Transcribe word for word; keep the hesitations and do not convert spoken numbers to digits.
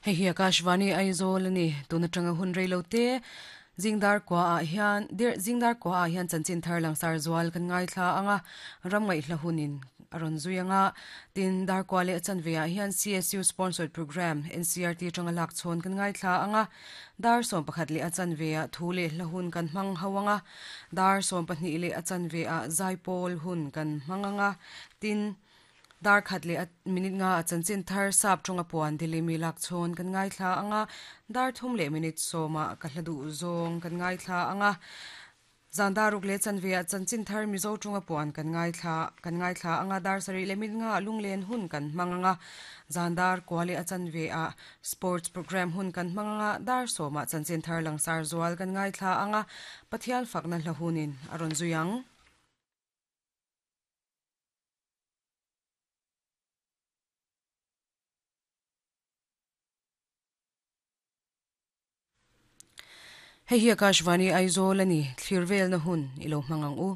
Hei hi Akashvani Aizawl ani tuna tanga hun reilo te zingdar kwa a hian dir zingdar kwa a hian chanchin thar langsar zual kan ngai thla anga ramngai hla hunin aron zuianga tin dar kwa le chanve a hian C S U sponsored program N C R T tanga lak chhon kan ngai thla anga dar som pakhat le achanve a thule hla hun kan hmang hawanga dar som pahnih le achanve a zaipol hun kan hmanganga tin dar khat le minute nga chanchin thar sap thonga puan dilimi lak chhon kan ngai thla anga dar thum le minute soma ka hladu zong kan ngai thla anga zandaruk le chanvia chanchin thar mizo thonga puan kan ngai thla kan ngai thla anga dar sari le minute nga lunglen hun kan manganga zandar kwale achanve a sports program hun kan manganga dar soma chanchin thar langsar zual kan ngai thla anga pathial fakna hlahunin aron zuyang. Hei hi Akashvani Aizawl ani thlirvel na hun ilo hmangang u.